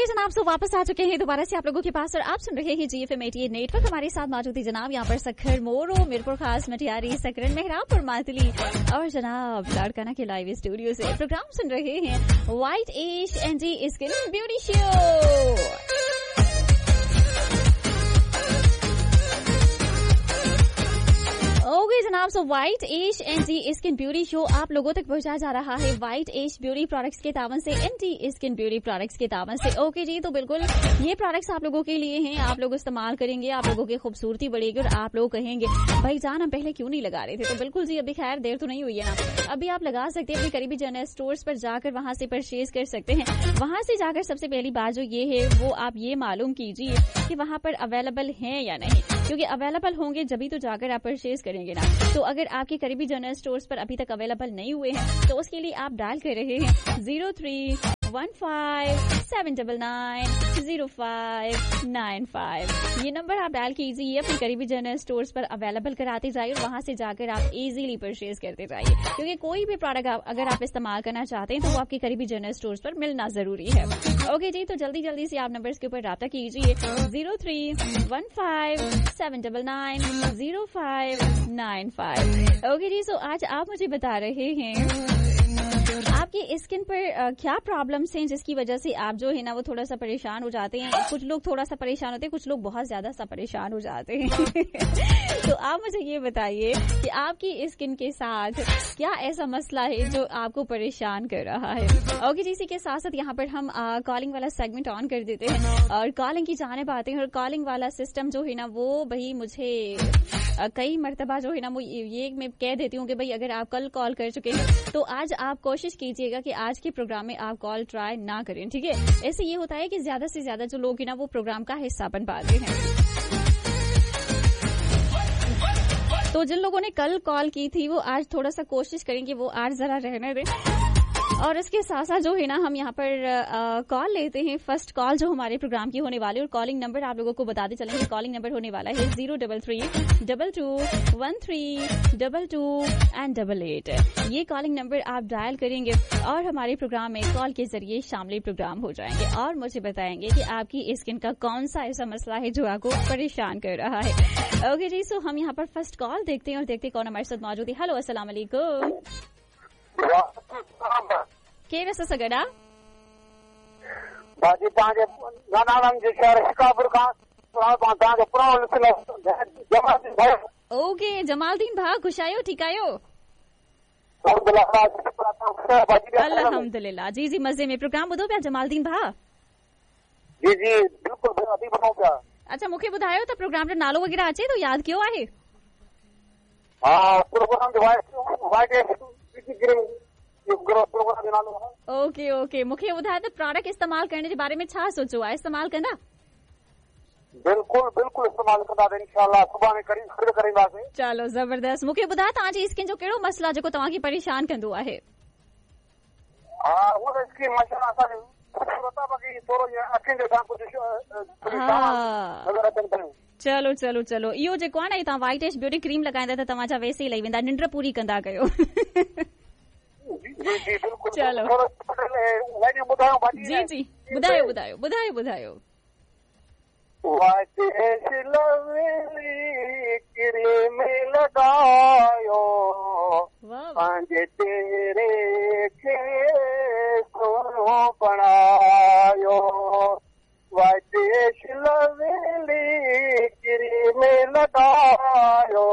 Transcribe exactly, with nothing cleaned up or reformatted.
Okay जनाब, सो वापस आ चुके हैं दोबारा से आप लोगों के पास और आप सुन रहे हैं G F M eighty eight network. हमारे साथ मौजूद है जनाब यहाँ पर सखर, मोरो, मीरपुर खास, मटियारी, सकरन, मेहराबपुर, मातली और जनाब लाड़काना के लाइव स्टूडियो से प्रोग्राम सुन रहे हैं white ash anti skin beauty show. Okay जनाब, so white ash anti skin beauty show आप लोगों तक पहुंचा जा रहा है व्हाइट एश ब्यूटी प्रोडक्ट्स के तावन से, एंटी स्किन ब्यूटी प्रोडक्ट्स के तावन से। ओके जी, तो बिल्कुल ये प्रोडक्ट्स आप लोगों के लिए हैं, आप लोग इस्तेमाल करेंगे, आप लोगों की खूबसूरती बढ़ेगी और आप लोग कहेंगे भाई जान हम पहले क्यों नहीं लगा रहे थे। तो बिल्कुल जी, अभी खैर देर तो नहीं हुई है ना, अभी आप लगा सकते हैं। अपने करीबी जनरल स्टोर्स पर जाकर वहां से परचेज कर सकते हैं। वहां से जाकर सबसे पहली बात जो ये है वो आप ये मालूम कीजिए कि वहां पर अवेलेबल है या नहीं, क्योंकि अवेलेबल होंगे जब तो जाकर आप परचेज करेंगे ना। तो अगर आपके करीबी जनरल स्टोर्स पर अभी तक अवेलेबल नहीं हुए हैं तो उसके लिए आप डायल कर रहे हैं zero three one five seven double nine zero five nine five. ये नंबर आप डायल कीजिए, अपने करीबी जनरल स्टोर्स पर अवेलेबल कराते जाइए और वहां से जाकर आप इजीली परचेज करते जाइए, क्योंकि कोई भी प्रोडक्ट आप, अगर आप इस्तेमाल करना चाहते हैं तो वो आपके करीबी जनरल स्टोर्स पर मिलना जरूरी है। ओके जी, तो जल्दी जल्दी से आप नंबर्स के ऊपर राब्ता कीजिए zero three one five seven double nine zero five nine five. Okay जी, सो आज आप मुझे बता रहे हैं आपकी स्किन पर क्या प्रॉब्लम्स हैं जिसकी वजह से आप जो है ना वो थोड़ा सा परेशान हो जाते हैं। कुछ लोग थोड़ा सा परेशान होते हैं, कुछ लोग बहुत ज्यादा सा परेशान हो जाते हैं। तो आप मुझे ये बताइए कि आपकी स्किन के साथ क्या ऐसा मसला है जो आपको परेशान कर रहा है। ओके जी, इसी के साथ साथ यहाँ पर हम कॉलिंग वाला सेगमेंट ऑन कर देते हैं और कॉलिंग की जाने पाते हैं। और कॉलिंग वाला सिस्टम जो है ना वो भाई मुझे कई मरतबा जो है ना वो ये मैं कह देती हूँ कि भाई अगर आप कल कॉल कर चुके हैं तो आज आप कोशिश कीजिएगा कि आज के प्रोग्राम में आप कॉल ट्राई ना करें, ठीक है। ऐसे ये होता है कि ज्यादा से ज्यादा जो लोग हैं ना वो प्रोग्राम का हिस्सा बन पाते हैं। तो जिन लोगों ने कल कॉल की थी वो आज थोड़ा सा कोशिश करेंगे वो आज जरा रहने दें। और इसके साथ साथ जो है ना हम यहाँ पर कॉल लेते हैं। फर्स्ट कॉल जो हमारे प्रोग्राम की होने वाली है और कॉलिंग नंबर आप लोगों को बताते चलेंगे। कॉलिंग नंबर होने वाला है zero double three double two one three double two and double eight. ये कॉलिंग नंबर आप डायल करेंगे और हमारे प्रोग्राम में कॉल के जरिए शामिल प्रोग्राम हो जाएंगे और मुझे बताएंगे कि आपकी स्किन का कौन सा ऐसा मसला है जो आपको परेशान कर रहा है। ओके जी, सो हम यहाँ पर फर्स्ट कॉल देखते हैं और देखते हैं कौन हमारे साथ मौजूद है। हेलो, अस्सलाम वालेकुम। केरु असां सां गॾु आहे? भाजी तव्हांजे नानाननि जे शहर शिकारपुर खां तव्हांजो पुराणो जमालदीन भाउ। ओके जमालदीन भाउ, ख़ुशि आहियो? ठीकु आहियो? अल्हम्दुलिल्लाह। जी जी, मज़े में। प्रोग्राम ॿुधो पिया जमालदीन भाउ? जी जी बिल्कुलु, अभी ॿुधूं पिया। अच्छा, मूंखे ॿुधायो त प्रोग्राम जो नालो वग़ैरह अचे थो, यादि कयो आहे? हा, प्रोग्राम जो वाइट ओके ओके, मूंखे ॿुधायो त प्रोडक्ट इस्तेमाल करण जे बारे में छा सोचो आहे? इस्तेमाल कंदा? बिल्कुलु बिल्कुलु इस्तेमाल कंदासीं इंशाअल्लाह, सुभाणे करीब खरीद करींदासीं। चलो ज़बरदस्त। मूंखे ॿुधायो तव्हांजी स्किन जो कहिड़ो मसइलो आहे जेको तव्हांखे परेशान कंदो आहे? हा, उहो त स्किन माशाअल्लाह असांजी ख़ूबसूरत आहे, बाक़ी थोरो ईअं अखियुनि जे हेठां कुझु नज़र अचनि पियूं। चलो चलो चलो, इहो जेको आहे न, तव्हां व्हाइट एश ब्यूटी क्रीम लॻाईंदा त तव्हांजा वैसे ई लही वेंदा, निंड पूरी कंदा कयो। जी जी बिल्कुलु। चलो जी जी, ॿुधायो ॿुधायो ॿुधायो ॿुधायो। व्हाइट एश लवली क्रीम लॻायो, पंहिंजे चेहरे खे सोनो बणायो। व्हाइट एश लवली क्रीम लॻायो,